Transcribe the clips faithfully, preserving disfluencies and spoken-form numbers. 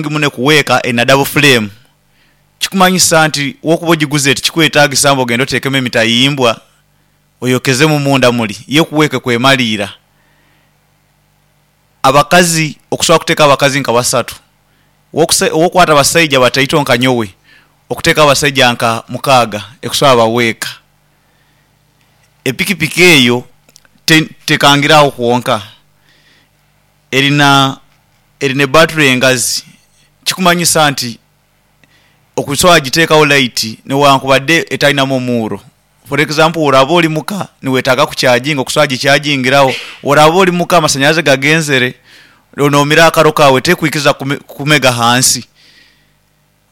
Muno ekuweeka erina double frame kikumanyisa nti wokuba ogiguziire tikikwetagisa mbu ogende otekemu emitayimbwa oyokezemu omunda muli yo ekuweeka ekwemaliira. Abakazi okusobola okutekamu abakazi nka basatu, wokusa wokwata abasaijja bataito nka nyowe okutekamu abasaijja nka mukaaga ekusobola baweeka. Epikipiki eyo te tekangire awo kwonka erina erina ebattery engazi kikumanyisa nti okusobola jitekawo light newankubadde etalinamu omuuro for example woraba oli muka niwetaga kucharging okusobola jichajingirawo, woraba oli muka amasanyalaze gagenzere nomira akaro kawe tekwikiriza kume kumega hansi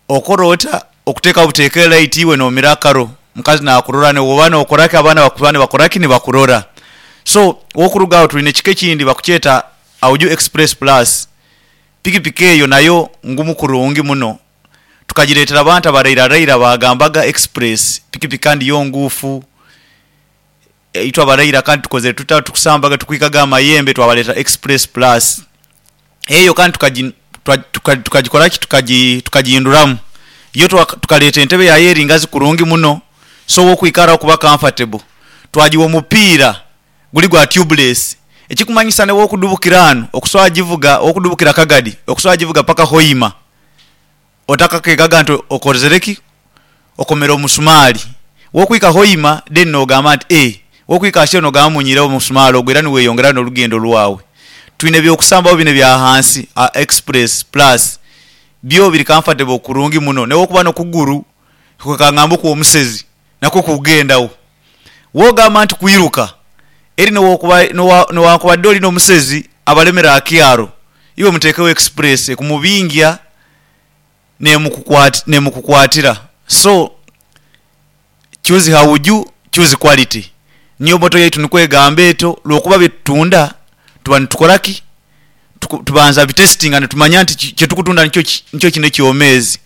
okora ota okutekawo buteka e light iwe nomira akaro omukazi nakurora niwoba nokoraki abaana bakuba nibakoraki nibakurora. So wokuruga awo tulina ekika ekindi bakukyeta Hauju express plus, pikipiki eyo nayo ngumu kurungi muno tukajiretera abantu abarairaraira bagambaga express pikipiki kandi yo nguufu itwe abaraira kandi tukozere tuta tukusambaga tukwikaga aha mayembe twabaletera express plus. Eyo kandi tukaji tuka tukajikoraki tukaji tukajihinduramu yo tukaleta entebe yayo eri ngazi kurungi muno so wokwikara okuba comfortable twajiwa omupiira guli gwa tubeless ekikumanyisa newokudubukira ani okusobola jivuga wokudubukira Kagadi okusobola jivuga paka Hoima otakakegaga nti okozereki okomere omusumali. Wokwika Hoima then nogamba nti eee wokwika Kakyeru nogamba munyiirewo omusumali ogwo era niweyongerayo nolugendo lwawe. Tulina ebyokusambawo bini ebyahansi aa express plus byo biri comfortable kurungi muno newokuba nokuguru kangambe okwomusezi nakwo kugendawo. Wogamba nti kwiruka eri newokuba newankubadde olina omusezi abalemere akyaro iwe mutekewo express ekumubingya nemukukwati nemukukwatira so choose Hauju choose quality niyo moto yaitu nikwo egamba etyo lwokuba byetutunda tuba nitukoraki tubanza bitesitinga nitumanya nti kyetukutunda nikyo ki nikyo kini ekyomezi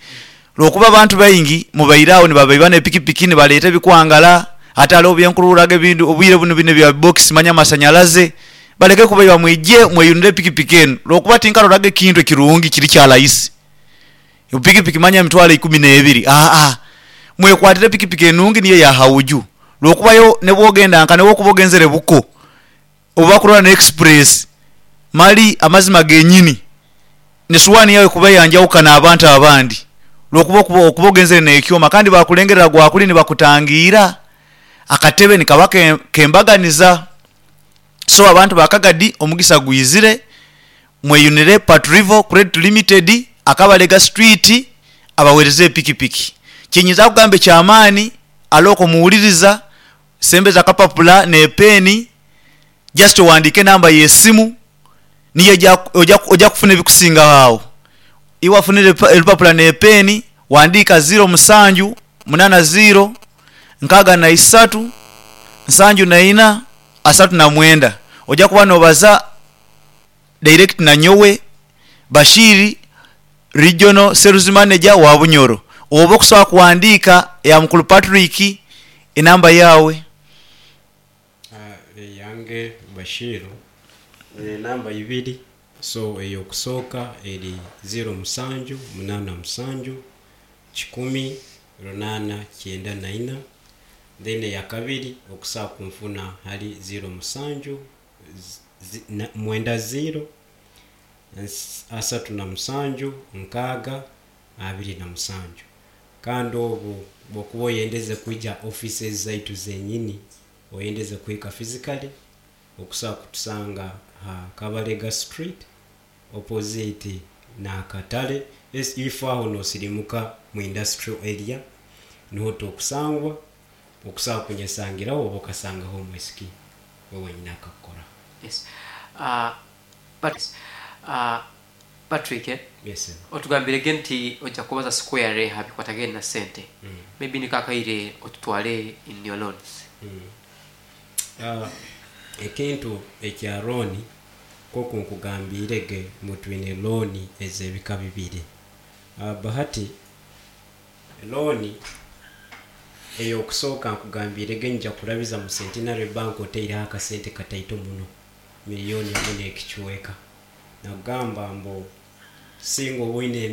lwokuba abantu baingi mubaire awo nibabaiba ne pikipiki nibaleta ebikwangala ate alowo byenkururaga ebindi obwire buni bini ebya box manya amasanyalaze baleke kubaiba mwije mweyunire epikipiki enu lwokuba tinkaroraga ekintu ekirungi kiri kyalaisi epikipiki manya emitwalo ikumi neibiri aa mwekwatire epikipiki enungi niyo eya Hauju lwokuba yo nibwogenda nka nibwokuba ogenzere Buko obubakurora ne express mali amazima genyini nesuwani yawe ekuba yanjawukana abantu abandi lwokuba okuba ogenzere nekyoma kandi bakulengerera gwakuli nibakutangira akatebe nikaba kembaganiza. So abantu ba Kagadi omugisa gwizire mweyunire Patrivor Credit Limited Akabalega street abawereze epikipiki. Kyenyinza okugamba ekyamaani alowo okomuwuliriza sembeza akapapula ne peni just owandike enamba yesimu niyo oja oja kufuna ebikusingawo awo. Iwe afunire olupapula ne peni wandika ziro musanju munana ziro nkaga naisatu nsanju naina asatu namwenda oja kuba nobaza direct nanyowe Bashiri regional sales manager wa Bunyoro oba okusobola kuwandika eya mukulu Patrick enamba yawe. Uh, eyange Bashiru enamba ibiri, so eyokusooka eri ziro musanju munana musanju kikumi runana kyenda naina, then eyakabiri okusobola kunfuna hali ziro musanju zi, na, mwenda ziro asatu na musanju nkaaga abiri na musanju. Kandi obu bwokuba oyendeze kwija offices zaitu zenyini, oyendeze kuhika physically, okusobola kutusanga ha Kabalega Street opposite n'akatale, ifo aho nosirimuka mu industrial area niho tokusangwa. Okusobola kunyesangiraho oba okasangaho omwisiki we wenyini akakukora. Yes. Uh, but, uh, Patrick, eh? Yes, sir. Otugambirege nti ojja kubaza square ha bikwatagene na sente. Mm. Maybe nikakaire otutwale in your loans. Mm. Uh, ekintu ekya loan koku nkugambirege mutwine loan ez'ebika bibiri. Uh, bahati loan eyokusooka nkugambirege nja kurabiza mu Centenary Bank oteireho akasente kataito muno miliyoni emu n'ekicweka, nagamba mbu singa oba oine